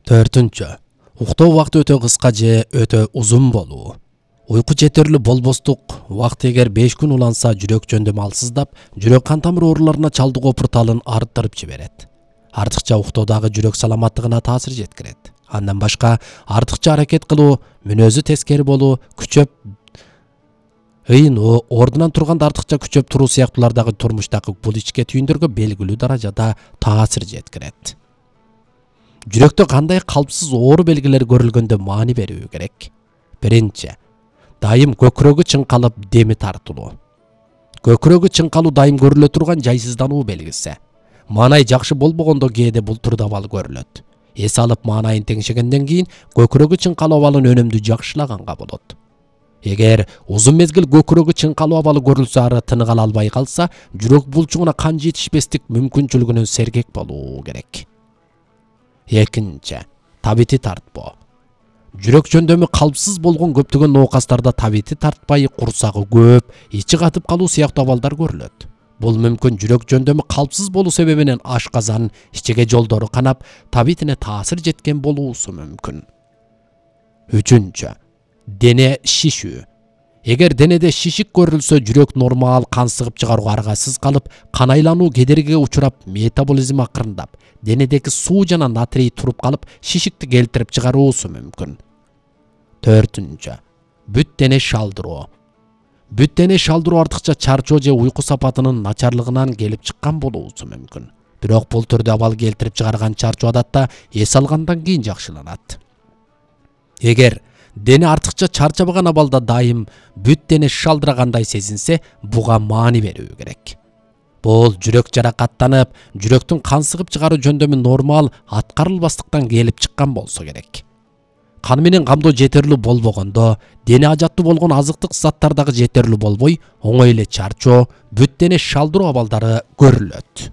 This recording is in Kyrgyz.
Төртүнчү. Уктоо убакыты өтө кыска же өтө узун болуу. Уйку жетерлүү болбостук убакыт эгер 5 күн уланса жүрөк жөндөмү алсыздап, жүрөк кан тамыр ооруларына чалдыгуу порталын арттырып жиберет. Артыкча уктоодагы жүрөк саламаттыгына таасир жеткирет. Андан башка артыкча аракет кылуу, мүнөзү тескери болуу, күчөп ыйынуу, ордунан турганда артыкча күчөп туруу сыяктуулардагы турмуштагы бул ичке түйүндөргө белгилүү даражада таасир жеткирет. Жүрөктө кандай калпсыз оору белгилери көрүлгөндө маани берүү керек? Биринчи, дайым көкүрөгү чыңкалып, деми тартылуу. Көкүрөгү чыңкалуу дайым көрүлө турган жайсыздануу белгиси. Маанай жакшы болбогондо кээде бул түрдө абал көрүлөт. Эс алып маанайын теңшегенден кийин көкүрөгү чыңкалуу абалын өнөмдүү жакшылаганга болот. Эгер узун мезгил көкүрөгү чыңкалуу абалы көрүлсө, ары тыныга ала албай калса, жүрөк булчугуна кан жетишпестик мүмкүнчүлүгүнөн сергек болуу керек. Экинчи, табити тартпоо. Жүрөк жөндөмү калпсыз болгон көптөгөн ноокастарда табити тартпай, курсагы көп, ичи катып калуу сыяктуу абалдар көрүлөт. Бул мүмкүн жүрөк жөндөмү калпсыз болуу себебинен ашказан, ичеге жолдору канап, табитине таасир жеткен болуусу мүмкүн. Үчүнчү, дене шишүү. Эгер денеде шишик көрүлсө, жүрөк нормал кан сыгып чыгарууга аргасыз калып, кан айлануу кедергиге учурап, метаболизм акырындап, денедеги суу жана натрий туруп калып, шишикти келтирип чыгаруусу мүмкүн. Төртүнчү, бүт дене шалдыроо. Бүт дене шалдыроо артыкча чарчоо же уйку сапатынын начарлыгынан келип чыккан болуусу мүмкүн. Бирок бул түрдө абал келтирип чыгарган чарчоо адатта эс алгандан кийин жакшыланат. Эгер дене артыкча чарчабаган абалда дайым бүт дене шалдырагандай сезинсе, буга маани берүү керек. Бул жүрөк жаракаттанып, жүрөктүн кан сыгып чыгаруу жөндөмү нормал аткарылбастыктан келип чыккан болсо керек. Кан менен камдоо жетерлүү болбогондо, дене ажаттуу болгон азыктык заттар дагы жетерлүү болбой, оңой эле чарчоо, бүт дене шалдыруу абалдары көрүлөт.